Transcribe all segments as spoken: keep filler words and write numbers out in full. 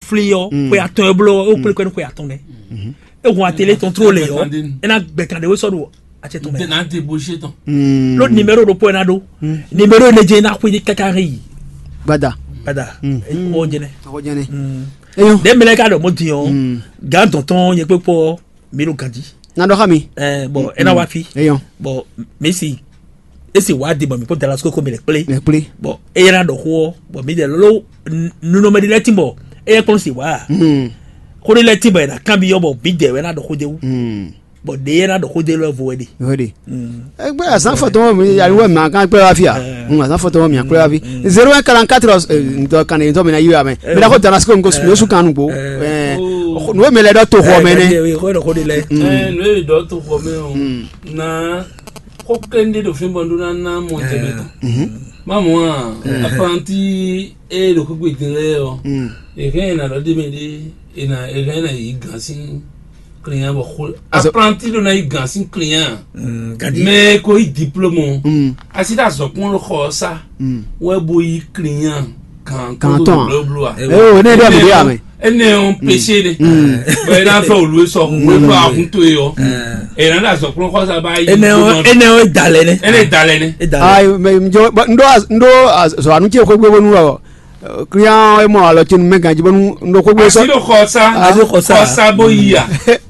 fli ɔ́, xwe atɔn e bló ɔ́, é kplé kɔ ní xwe atɔn nɛ́. É hun atélé tɔn tló lě ɔ́, é ná gbɛ kan ɖé wé sɔ́ ɖo acɛ tɔn mɛ. Ná débouché tɔn. Ló numéro ɖokpó é ná ɖó. Numéro énɛ́ jɛ́n é ná xwé dé káká hɛn yi. Gbada. Gbada. Ó jɛnɛ. Akɔ jɛnɛ. Eyɔn. Ɖé mɛlɛ ká ɖɔ mɔ din ɔ́, gǎn dɔn tɔn nyɛ kpé kpɔ mi ɖo ganji. Na ɖɔ xá mi. Ɛ bɔn é ná wá fi. Eyɔn. Bɔn mi si esi wá di bɔ mi kpɔ Damasiko ko mi lɛ kplé. Lɛ kplé. Bɔn eye ná ɖɔ xó ɔ bɔn mi dɛ lolo nunɔmɛ ɖi lɛ tin bɔ eye kpɔn si wá. Xó ɖi lɛ tin bɔ yɛ na kan bi yɔ bɔ mi dɛ wɛ na ɖɔ xó de wú. Bɔn ɖe yɛ na ɖɔ xó de lɔ vo wɛ de. Wɛ de. Egbe azan fɔtɔn mi yali wɛ ma kan kpɛ wá fia. Azan fɔtɔn mi kpɛ wá fi. Zéro un quarante-quatre ntɔ kan ntɔ mi na yi wa mɛ. Mi na ko Damasiko ko su kan nugbo. Nwe mi lɛ dɔ to xɔ mɛ nɛ. Xó ɖɔ xó de lɛ. Ɛ nu e dɔ to xɔ mɛ o na xó kɛnde ɖo fínbɔn ɖó ná ná mɔ tɛmɛ tɔn. Má mɔ a apranti e ɖo kúkú din lɛ ɔ èhɛn è nà ɖɔ ɖé mɛ ɖé è nà èhɛn è nà yi gǎn sín client bɔ xó apranti ɖó ná yi gǎn sín client mɛ ko yi diplôme o asi ɖo azɔkún ló xɔ ɔ́ sá wɛ bo yi client gǎn tó Gǎn tɔn a? Blóbló a Eo ne ɖɔ mi ɖe ame. Ene ɔn péché ɖe bɛ ena fɛ olú esɔ olú esɔ ahun to yɔ ena ɖe azɔkplɔn xɔsa ba yi Ene ɔ ene ɔ da lɛ nɛ. Ene da lɛ ne E da lɛ. Ayi, mɛ njɔ bɔ ndo ndo zɔanu ce xwegbe bonu ɔ client e mɔ alɔ ce nu mɛ ganji bɔnu ndo xwegbe sɔ asi ɖo xɔsa Asi xɔsa. Xɔsa bo yi a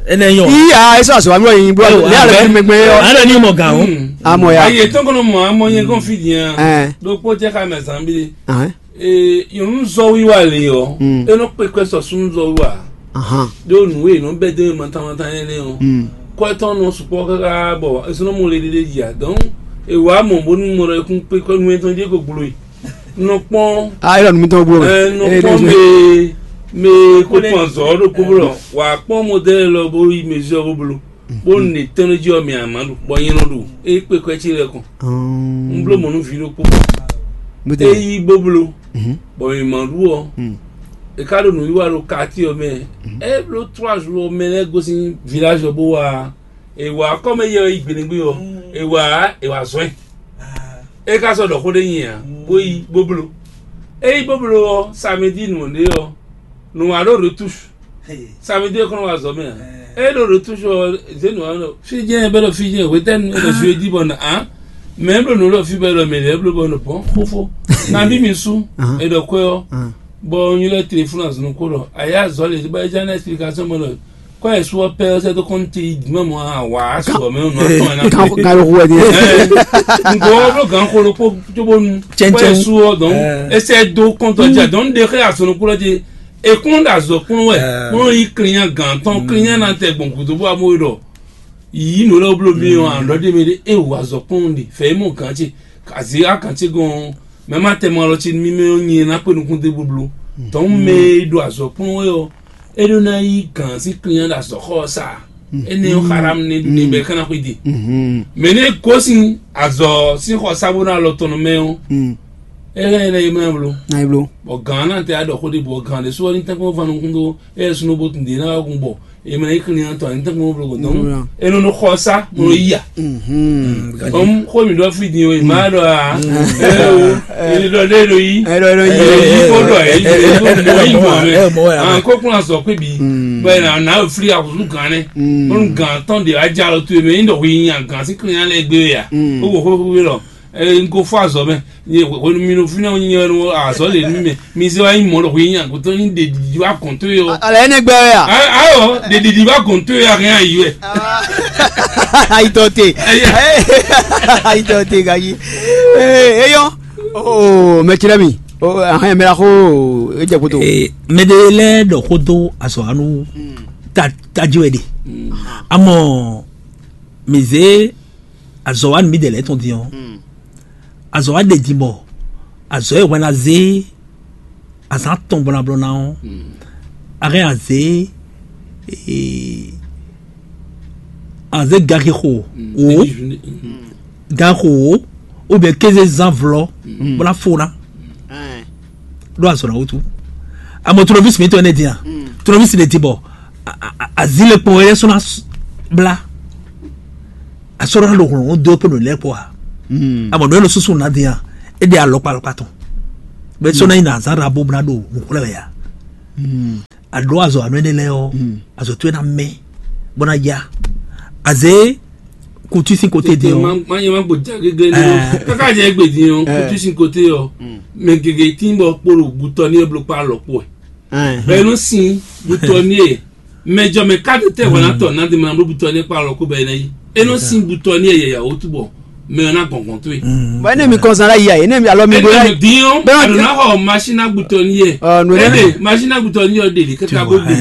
Ene yɔ. Iya, eso aso amlo yin bro. Le ala fi mɛgbɛ yɔ. Ana ni mɔ gan o. Amɔ ya. Ayi etɔn kɔnɔ mɔ amɔ yɛn kɔn fi diyan Ɛn. Ɖokpó jɛ xa mɛ zanbi. Ɛn. Ee, nyɔnu zɔ wiwa le ɔ, Mm. E nɔ kpe kɔ sɔ sunu zɔ wiwa. Ahan. Ɖo nu e nɔ bɛ de mantan mantan yɛ nɛ ɔ. Mm. Kɔ etɔn nɔ sukpɔ kaka bɔ esunɔ mo le ɖe ɖe yia. Donc, e wa mɔ bonu mɔ ɖɔ ekun kpe kɔ nu etɔn je ko gblo yi. Nɔ kpɔn. Ah, e lɔ nu mi tɔn gblo. Ɛ nɔ kpɔn me me ko kpɔn zɔ ɖo kpo blɔ. Wa kpɔn modèle lɔ bo yi mesure bo blo. Bó nì tɛnújí ɔ́ mì àmá ɖu bɔ nyɛ nɔ ɖu é kpe kɔ ɛ́ cí lɛ́ kɔn. Un bló mɔ̌ nú vǐ ɖokpó. É yí bó bló, bɔ mì ma ɖu ɔ́, è ká ɖo nǔwiwa ɖo kati ɔ́ mɛ. É bló trois jours ɔ́ mɛ lɛ́ɛ gosín village ɔ́ bó wá. È wǎ kɔ́ mɛ yɛ wɛ yi gbeɖégbé ɔ́, è wǎ è wǎ zɔ́n ɛ. É ká sɔ́ ɖɔ xó ɖé nyi ǎ, bó yí bó bló. É yí bó bló ɔ́, samedi nǔ ɖé ɔ́, nǔ wá ɖo retouche. Samedi é kɔn wá zɔ mɛ a? É ɖo ɖo toujours zé nǔ wá nɔ. Fí jẹ́ ẹ bɛ ɖɔ fí jẹ́ wetɛnu é ɖɔ jeudi bɔ na a. Mɛ é bló nǔ ɖɔ fí bɛ ɖɔ mɛ lɛ é bló bɔ nɔ bɔn xófó. Na bí mi sú é ɖɔ kwɛ ɔ. Bɔ nyi lɛ téléphone azɔn kó ɖɔ a yá zɔ lè bá é já ná explication mɔ ɖɔ kɔ ɛ sú ɔ pɛ ɔ sɛ tó kɔn ti dì mɛ mɔ a wà á sɔ mɛ nɔ atɔn ɛ na Kan kan yo huwe di. Nko ɔ bló gan kolo kpó tsobonu kɔ ɛ sú ɔ dɔn. Ɛsɛ do kɔntɔ dza dɔn de xɛ azɔn kó lɔ dzi. Ekplɔ́n ɖo azɔ̌ kplɔ́n wɛ, kplɔ́n yí klinnya gǎn tɔn klinnya ná tɛ gbɔn gǔdo bó amó ɖɔ yǐyí nǔ lɛ́ɛ bló mì ɔ́, àlɔ̌ ɖé mɛ ɖé é wǒ azɔ̌ kplɔ́n ɖe fɛ̌ mɔ gǎn ce, azě agǎn ce gɔn ɔ́, mɛ má tɛ mɔ alɔ ce nú mì mɛ ɔ́ nyi ná kpé nukún dó bló. Tɔ̌hún mɛ e ɖo azɔ̌ kplɔ́n wɛ ɔ́, é ɖó ná yí gǎn sín klinnya ɖo azɔ̌ xɔ ɔ́ sa. Énɛ́ ɔ́, xaɖamu ne ɖu ne bɛ é ka ná xwedó. Mɛ nɛ́ gosín azɔ̌ sín xɔ sa bó ná alɔ tɔn nɔ mɛ ɔ́, é hɛn ɛ ná yi mlá bló. Ná yi bló. Bɔ gǎn ná tɛ aɖɔ xó ɖé bɔ gǎn ɖé sú ɔ́ ní tɛ́nkpɔ́n va nukún dó ɛ súnú bó tun dě ná wá gun bɔ è mɛ yí klinnya tɔn ní tɛ́nkpɔ́n bló gɔ̌n. É nɔ nɔ xɔ sá bó nɔ yí ya. Ɔm xó mi ɖɔ fí din o, ma ɖɔ a. Ɛ o, èyí ɖɔ ɖé ɖo yí. Ɛ ɖɔ ɖo yí. Èyí kó ɖɔ èyí kó mɔ yí mɔ mɛ. An kó kún azɔ kpé bi. Bɛ na na fili akutu gán nɛ. Bɔn gán tɔn de adza lɔ tu mɛ yín ɖɔ hu yi nya gán sí klinnya lɛ gbé ya. Ó wò xó xó lɔ. Ɛ n ko fɔ azɔ mɛ. Nye hwenu mi ɖo fínɛ́ nyɛ ɖo azɔ̌ lě nú mì mɛ. Mi zé wá nyí mɔ̌ ɖo hwǐ nyi agbǒtɔ́ ní ɖe ɖiɖi wá gɔ̌n tó yɔ. Alɛ ɛnɛ gbɛ wɛ a? Ayɔ ɖe ɖiɖi wá gɔ̌n tó yɔ ahɛn ayi wɛ. Ayitɔ te. Ayitɔ te gayi. Eyɔ. Oo mɛ tsi lɛ mi. Ahɛn mɛ la xo edze koto. Mɛ ɖe lɛ ɖɔ xó dó azɔ anu taji wɛ ɖe. Amɔ mi zé azɔ wa nu mi ɖe lɛ tɔn din ɔ. Azɔ wa ɖe din bɔ azɔ e hwɛ na zé azan tɔn bɔ na blɔ na ɔ. Ahɛn azé azé gake xo o gan xo o ou bien kéze zan vlɔ bɔ na fo na ɖo azɔ na wutu. Amɔ tournevis mi tɔ ne din a? Tournevis ne din bɔ azi le kpɔn yɛ sɔ na bla. Asɔrɔ ɖo hlɔn dó pé ɖo lɛ kpɔ a? Amɔ ɖo ɛlò susu na dia e ɖe alɔkpa alɔkpa tɔn bɛ sɔ na yi na azan ɖa bo bla ɖo nukun lɛ ya. A ɖǒ azɔ̌ anú énɛ́ lɛ́ɛ ɔ́, azɔ̌ towe ná mɛ, bó ná ya. Azě kutu sín kote din ɔ́, má má nyɛ má gbo ja gégé ní. Káká jɛ égbè din ɔ́, kutu sín kote ɔ́, mɛ gěgé tín bɔ kpolo butɔ ní ɔ́ bló kpá lɔ kpó ɛ. Bɛ nɔ sin butɔ ní ɛ, mɛ jɔ mɛ ká tɛ wà ná tɔ ná di ma bló butɔ ní ɛ kpá lɔ kó bɛ ná yi. E nɔ sin butɔ ní ɛ yɛ yàwó túbɔ mɛ ɔ́ ná gɔngɔn tó ye. Bɔ ene mi kɔnsan la yi a ene mi alɔ mi bo la Ene yi. Din ɔ́, Bɛn alo ná xɔ masina butɔ ní ɛ. Ɔ, nù ene. Ene masina butɔ ní ɔ ɖe lě kaka bó ɖe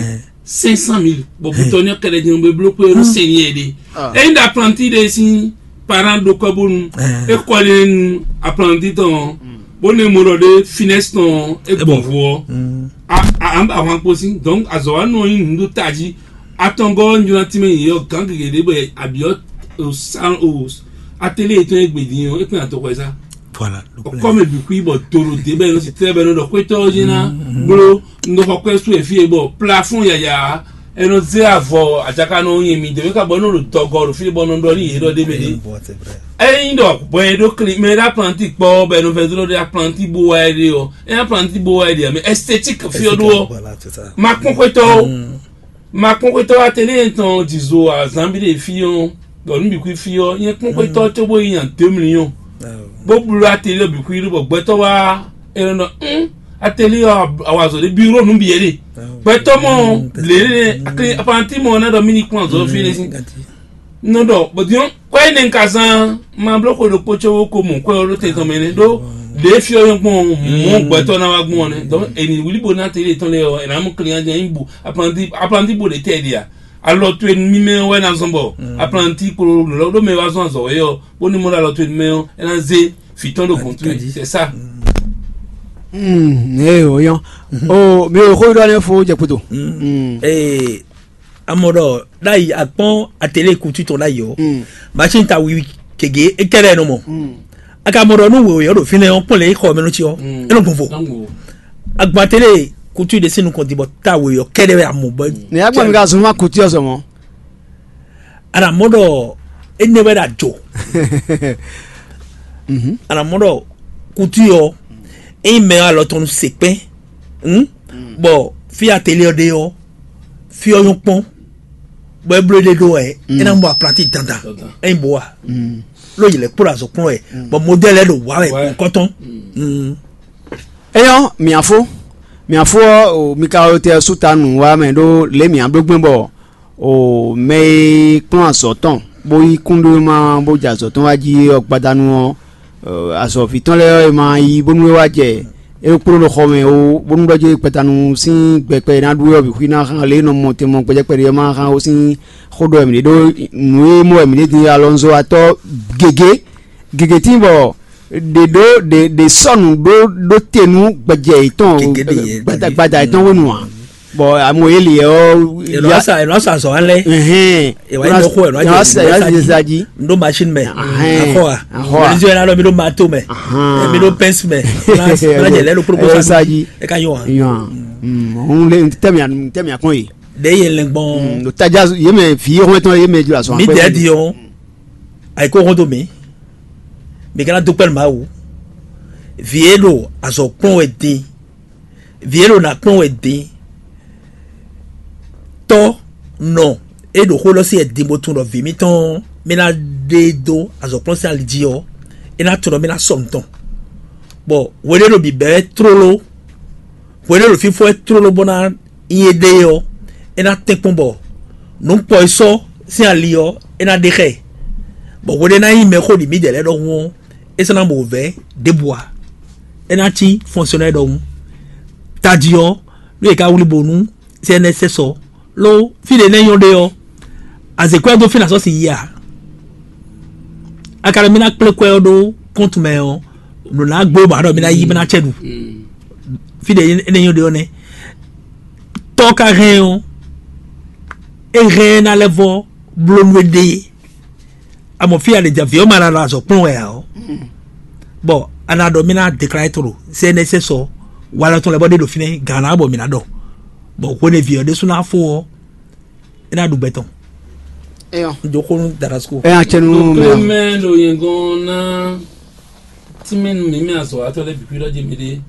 cinq cent mille. Bɔ butɔ ní ɔ kɛlɛ jɛn bɛ bló kpé ɔ́ sɛn ní ɛ ɖe. Eyi ɖe aplanti ɖe sín parent ɖo kɔ bónú. E kɔ ɖe nu aplanti tɔn. Bó ne mo ɖɔ ɖe finesse tɔn e gbɔn vo ɔ. A a an ba hwan kpo sín donc azɔ wa nɔ yin nu ɖo taji. Atɔngɔ nyuna tìmɛ yi yɔ gan gègé ɖe bɛ abiɔ o san o atelier yětɔn e gbedin ɔ e kpɛn atɔkɔ sa. Voilà. Ɔkɔ mɛ bǐ kú bɔ dolo dé bɛ nɔ si tɛ bɛ nɔ ɖɔ xwetɔ ɔ́ yé ná bló nɔxɔ kɔɛ sú efi e bɔ plafond yaya. Ɛnɔ zé avɔ adzaka nɔ nyi mi dèmí ka bɔ nɔ ɖo dɔgɔ ɖo fi bɔ nɔ ɖɔ ní yé ɖɔ dé bɛ dé. Ɛyin ɖɔ bɔ yɛ ɖo kli mɛ ɖa planti kpɔ bɛ nɔ fɛ zlɔ ɖe aplanti bo wa yɛ ɖe ɔ ɛn aplanti bo wa yɛ ɖe mɛ esthétique fi ɔ ɖo ɔ. Ma kpɔn xwetɔ o. Ma kpɔn xwetɔ atelier tɔn dzizo azan bi ɖe fi ɔ. Dɔ nu bi kui fi ɔ nyɛ kpɔn xwetɔ tso bo yi yan deux millions. Bó blu atelier bi kui ɖo bɔ gbɛtɔ wa ɛnɔ un atelier ɔ awazɔ ɖe bureau nu bi yɛ ɖe. Gbɛtɔ mɔ lele akli aplanti mɔ na ɖɔ mini kpɔn azɔ fi ɖe si. Nɔ ɖɔ bɔdiɔn kɔɛ ne ka zan ma bló xwe ɖokpó tso ko mɔ kɔɛ ɔ ɖo te tɔn mɛ ne ɖo ɖe fi ɔ yɔn gbɔn mɔ gbɛtɔ na wa gbɔn ne donc eni wuli bo na tele tɔn le ɔ ena mu kli anya yin bu aplanti aplanti bo ɖe tɛ ɖia alɔ to enu mi mɛ wɛ na zɔn bɔ aplanti kpolo lɔ ɖo mɛ wa zɔn azɔ wɛ yɔ bo ni mo ɖo alɔ to enu mɛ ɔ ena ze fi tɔn ɖo gɔn tu c'est ça. Hmm, eh, oyan. Oh, mi ò xó ɖɔ ne fo jɛ kpoto. Hmm. Ee, amɔ ɖɔ ɖ'ayi akpɔn atelier kutu tɔn ɖ'ayi ɔ. Machine ta wiwi kege ekɛlɛ nɔ mɔ. Aka mɔ ɖɔ nu wòye ɔ ɖo fínɛ ɔ kpɔn lɛ xɔ mɛ nɔ tsi ɔ. Enɔ gbɔn vo. Agba atelier kutu ɖe sín nukɔn di bɔ ta wòye ɔ kɛɖɛ wɛ amɔ bɔ. Ne ya gbɔ mi ka zun ma kutu ɔ sɔmɔ. Ana mɔ ɖɔ enɛ wɛ ɖo adzo. Ana mɔ ɖɔ kutu ɔ eyi mɛ alɔ tɔn se kpɛn. Bɔ fi atelier ɔ ɖe ɔ fi ɔ nyɔ́ kpɔn bɔ e bló ɖe ɖó wɛ e ná mɔ aplanti dandan e nyí bo wa ló yi lɛ kplɔ́n azɔ̌ kplɔ́n wɛ bɔ modèle ɖo wa wɛ kɔtɔn. Eyɔn miafo miafo ɔ mi ka tɛ suta nù wa mɛ ɖó lě mǐ bló gbɛn bɔ o mɛ e kplɔ́n azɔ̌ tɔn bó yí kúnɖéwéma bó jɛ azɔ̌ tɔn wá jí ɔ́ gbadanu ɔ́, azɔ̌ví tɔn lɛ́ɛ ɔ́, è ma yí bónú é wá jɛ é kpló ɖo xɔ mɛ ó, bónú ɖɔ jɛ gbadanu sín gbɛkpɛ e ná ɖu é ɔ́ bǐ xwí ná xán lě e nɔ mɔ tɛn mɔ gbɛjɛkpɛ ɖé ɔ́ ma xán ó sín xó ɖɔ wɛ mǐ ɖe ɖó nǔ e mɔ wɛ mǐ ɖe din alɔnzo atɔ́ gěgé gěgé tíin bɔ ɖe ɖó ɖe ɖe sɔnu ɖó ɖó te nú gbɛjɛ yětɔn gbada gbada yětɔn hwenu ǎ. Bɔ amo yeli ɔ Èlò àṣà èlò àṣà sɔ alẹ́. Ɛhɛn. Èwà yìí lọ kó ẹ̀rọ àjẹ ìwà ìwà ìwà ìwà ìwà. Ndo machine mɛ. Ahɛn. Akɔ wa. Akɔ wa. Mɛnizɔ yɛn alɔ mi do mato mɛ. Ahɛn. Mi do pɛnsi mɛ. Fúnà jɛ lɛ ló kpókpó sa. Ɛ ka yɔ wa. Yan. Òun lè tẹ̀mí tẹ̀mí àkọ́ yìí. Ɖe yɛ lɛ gbɔn. Tajà yé mɛ fi yé hɔn tán yé mɛ jula sɔn. Mi dɛ di yɔ. Ayi ko hɔn to mi. Mi kana do kpɛlɛ ma wo. Vǐ e ɖo azɔ̌ kplɔ́n wɛ din. Vǐ e ɖo nǎ kplɔ́n wɛ din. Tɔ́ nɔ e ɖo xó lɔ sí wɛ din bó tunwun ɖɔ vǐ mitɔn mì ná ɖe dó azɔ̌ kplɔ́n sín ali jí ɔ́, é ná tunwun ɖɔ mì ná sɔ nǔ tɔn. Bɔ hweɖé ɖo bǐbɛ́ wɛ tlóló, hweɖé ɖo fínfɔ́n wɛ tlóló bó ná nyi éɖée ɔ́, é ná tɛ́nkpɔ́n bɔ nǔ kpɔ e sɔ́ sín ali ɔ́, é ná ɖe xá ɛ. Bɔ hweɖé ná nyí mɛxó ɖi mǐdɛɛ lɛ́ɛ ɖɔhun ɔ́, é sɔ́ ná mɔ wǔvɛ́ ɖěbǔ ǎ. É ná cí fɔnsiɔnɛ́ ɖɔhun. Tají ɔ́, nú è ka wlí bo nú C N S S ɔ́, ló fí ɖě nɛ́ nyɔ́ ɖe ɔ́, azěkwɛ́ dó fí nǎ sɔ́ sin yí ǎ. A ka ɖɔ mì ná kplé kwɛ́ ɔ́ ɖó kɔ́ntu mɛ ɔ́, nǔ ná gbó bǎ ɖɔ mì ná yí mì ná cɛ ɖu. Fí ɖě é nɛ́ nyɔ́ ɖe ɔ́ nɛ́. Tɔ́ ka hɛn ɔ́, é hɛn ná lɛ́ vɔ́ bló nú éɖée. Amɔ fí a ɖe jɛ vǐ ɔ́ ma ná nɔ azɔ̌ kplɔ́n wɛ ǎ ɔ́, bɔ a nǎ ɖɔ mì ná deklare to ɖo C N S S ɔ́, walɔ tɔn lɛ́ɛ bɔ ɖe ɖo fínɛ́ gǎn ná bɔ mǐ ná ɖɔ, bɔ hwenu e vǐ ɔ́ ɖésú ná fó ɔ́, é ná ɖu gbɛ tɔn. Eyɔ. Un dó xó nú Darasko. Eyɔ, acɛnu mɛ. Mɛ ɖo yɛngɔn ná tínmɛ nú mǐ mɛ azɔ̌watɔ́ lɛ́ɛ bǐ kwíɖɔ jí mǐɖée.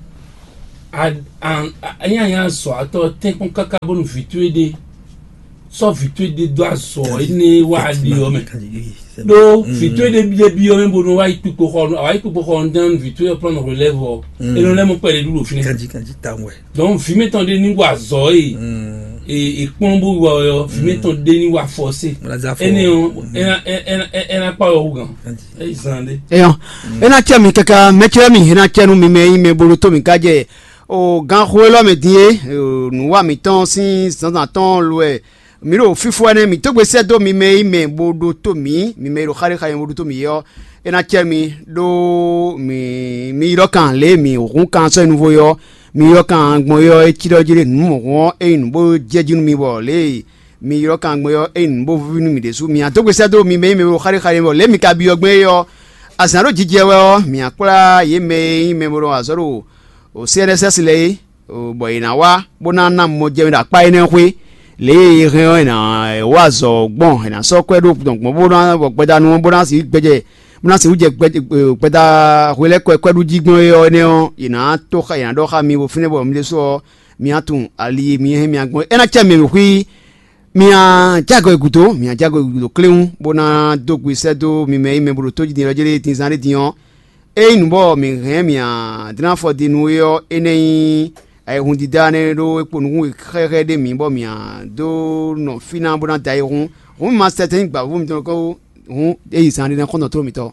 A- a- a- ényí a nyí azɔ̌watɔ́ tɛ́nkpɔ́n káká bónú vǐ towe ɖé sɔ́ vǐ towe ɖé dó azɔ̌ énɛ́ wá ɖe ɔ́ mɛ. Ɖó vǐ towe ɖé biɖé byɔ́ mɛ bónú wá yi kpikpo xɔ nú, awǎ yi kpikpo xɔ nú dán vǐ towe ɔ́ plán nɔ hwelɛ́vɔ. É nɔ lɛ́ mɔ kpɛɖé ɖu ɖo fínɛ́. Kanjí kanjí tawun wɛ. Donc vǐ mɛtɔn ɖé ní wa azɔ̌ e e e kplɔ́n bó wa ɔ́, vǐ mɛtɔn ɖé ní wa fɔsé. Énɛ́ ɔ́, é ná é ná é ná kpá wɛ hú gǎn. É yi zan ɖé. Eyɔn, ena cɛ mi kaka mɛcɛ mi, ena cɛ nu mi mɛ yi mɛ bolo to mi ka jɛ o gan xo elɔ mɛ din e, o nu wa mi tɔn sin zanzan tɔn lo ɛ. Mi ɖo fifo ɛnɛ mi togbe sɛ do mi mɛ yi mɛ bo ɖo to mi, mi mɛ yi ɖo xali xali bo ɖo to mi yɔ. Ena cɛ mi ɖo mi mi ylɔ kan le mi hun kan sɔ nuvo yɔ. Mi ylɔ kan gbɔn yɔ e ci ɖɔ jí ɖe nu mɔ hɔn e nu bo jɛ jí nu mi bɔ le mi ylɔ́ kangbe ɔ́, é nyí nǔ bó víví nú mì ɖésú. Mǐ ná dó gbe sɛ́ dó mi mɛ e nyí mɛ e ɖo xáɖéxáɖé mɛ ɔ́, lě e mi ka byɔ́ gbɔn é ɔ́, azǎn ɖo jijɛ wɛ ɔ́, mǐ ná kplá yě mɛ e nyí mɛ bo ɖo azɔ̌ ɖo C N S S lɛ́ɛ é, bɔ yě ná wá bó ná ná mɔ jɛ mì ɖo akpá énɛ́ xwé. Lě e è hɛn ɔ́, è nǎ wá azɔ̌ gbɔn, è nǎ sɔ́ kwɛ́ ɖó gbɔn bó ná bɔ gbɛdanu ɔ́ bó ná sixú gbɛjɛ bó ná sixú jɛ gbɛdá hwelɛ́kɔ e kwɛ́ ɖu jí gbɔn é ɔ́ énɛ́ ɔ́, yě ná tó xa yě ná ɖɔ xá mi bo fínɛ́ bɔ mi ɖésú ɔ́, mi ná tunwun ali e mi hɛn mi gbɔn é ná cɛ mì xwí. Mi a jágɔ gǔdo, mi a jágɔ gǔdo kléwún, bó ná dó gbe sɛ́ dó mi mɛ e mɛ bo ɖo tó jí din ɔ́ jlé din zán ɖé din ɔ́, é nyí nǔ bɔ mǐ hɛn mǐ a dlán afɔ din nú é ɔ́, é ná nyí ayihundídá nɛ́ ɖó é kpo nukún xɛxɛ ɖé mǐ bɔ mǐ a dó nɔ fí ná bó ná da ayihún. Hǔn mi ma sɛtɛn nyí gbǎvú mitɔn kó hǔn é yi zán ɖé ná xɔ́ntɔn tló mitɔn.